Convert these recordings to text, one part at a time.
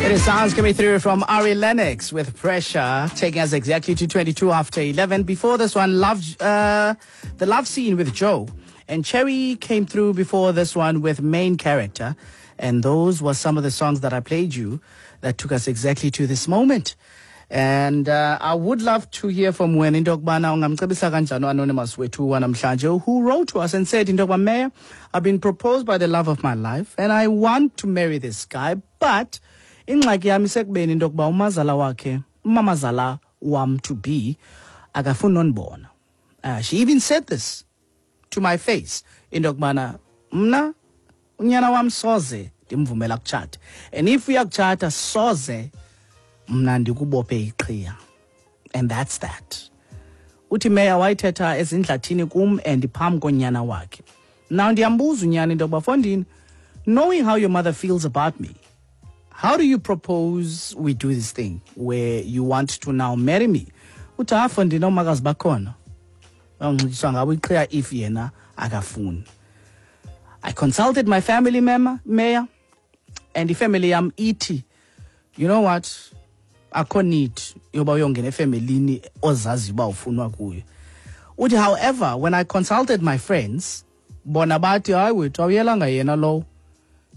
It is sounds coming through from Ari Lennox with Pressure, taking us exactly to 22 after 11. Before this one, love, the love scene with Joe. And Cherry came through before this one with Main Character. And those were some of the songs that I played you that took us exactly to this moment. And I would love to hear from wena into yokubana ungamcebisa kanjani u-anonymous wethu wanamhlanje who wrote to us and said into yokuba Mayor, I've been proposed by the love of my life and I want to marry this guy, but ingxaki yam isekubeni into yokuba umazala wakhe, umamazala wam to be, akafuni nondibona. She even said this to my face into yokubana mna unyana wam soze ndimvumela kutshata, and if uyakutshata soze mna ndikubophe iqhiya, and that's that. Uthi Meya wayithetha ezindlathini kum and phambi konyana wakhe. Now ndiyambuza unyana into yokuba fondini, knowing how your mother feels about me, how do you propose we do this thing where you want to now marry me? Uthi ha fondini omakazi bakhona banxityiswa ngabo iqhiya if yena akafuni. I consulted my family member, Mayor, and ifamily yam ithi, you know what, akho need yoba uyongena efemelini ozaziyo uba ufunwa kuyo. Uthi however, when I consulted my friends, bona bathi hayi wethu awuyelanga yena lowo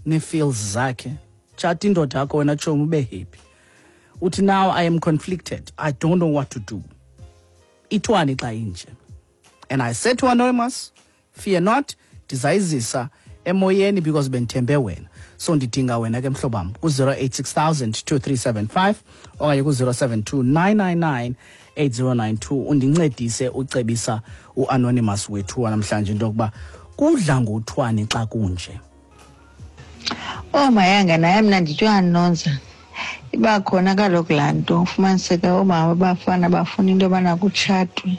nee-feels zakhe, tshata indoda yakho wena tshomi ube happy. Uthi now I am conflicted, I don't know what to do. Ithwani xa inje? And I said to Anonymous, fear not, ndizayizisa emoyeni because bendithembe wena. So ndidinga wena ke mhlobam ku-086 2375 okanye ku-072 999 8092 undincedise ucebisa u-anonymous wethu wanamhlanje into yokuba kudla ngothwani xa kunje. Oh mayanga naye mna ndithi uyanonza. Iba khona kaloku laa nto ufumaniseke oomama abafana bafuna into yobana kutshatwe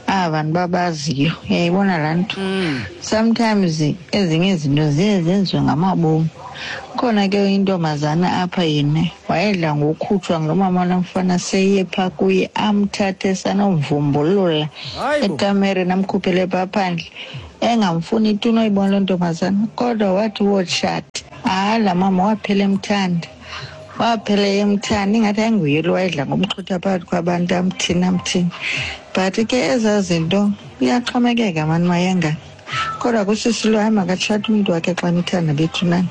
aba bantu babaziyo, uyayibona laa nto. Sometimes ezinye izinto ziye zenziwe ngamabomi. Khona ke intombazana apha yena wayedla ngokukhutshwa ngulo mama lomfana seye phaa kuye amthathe sanomvumbulula ekamereni amkhuphele phaa phandle, engamfuni tu noyibona loo ntombazana. Kodwa wathi wotshata, hayi laa mama waphela emthanda, waphela emthanda, ingathi ayinguye lo wayedla ngomxhutha phakathi kwabantu amthini amthini. But ke ezaa zinto kuyaxhomekeka mani mayengana. Kodwa kusisi lo hayi makatshate umntu wakhe xa emthanda bethu nani,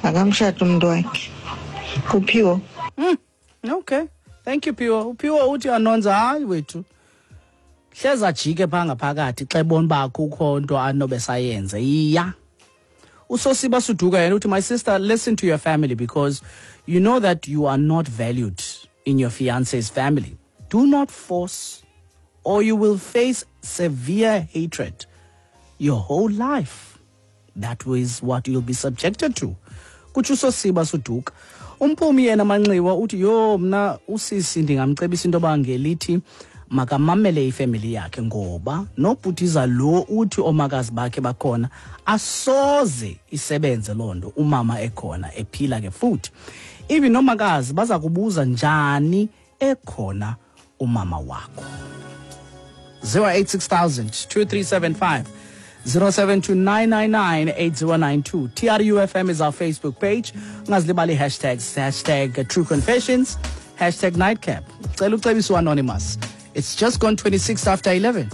makamshate umntu wakhe. Kuphiwo. Okay, thank you Phiwo. Uphiwo uthi anonza hayi wethu hleza ajike phaa ngaphakathi xa ebona uba akukho nto anobe sayenze. Iya. Usosiba Suduka yena uthi my sister, listen to your family because you know that you are not valued in your fiance's family. Do not force or you will face severe hatred your whole life. That is what you'll be subjected to. Kutsho uSosiba Suduka. Umphumi yena Manxiwa uthi yho mna usisi ndingamcebisa into yoba ngelithi makamamele ifemeli yakhe ngoba nobhutiza lo uthi omakazi bakhe bakhona asoze isebenze loo nto umama ekhona ephila ke futhi. Even nomakazi baza kubuza njani ekhona umama wakho. 086 2375 0729998092. TRUFM is our Facebook page. Ungazilibali hashtags, hashtag True Confessions, hashtag Nightcap. Cela ucebiswe anonymous. It's just gone 26 after 11.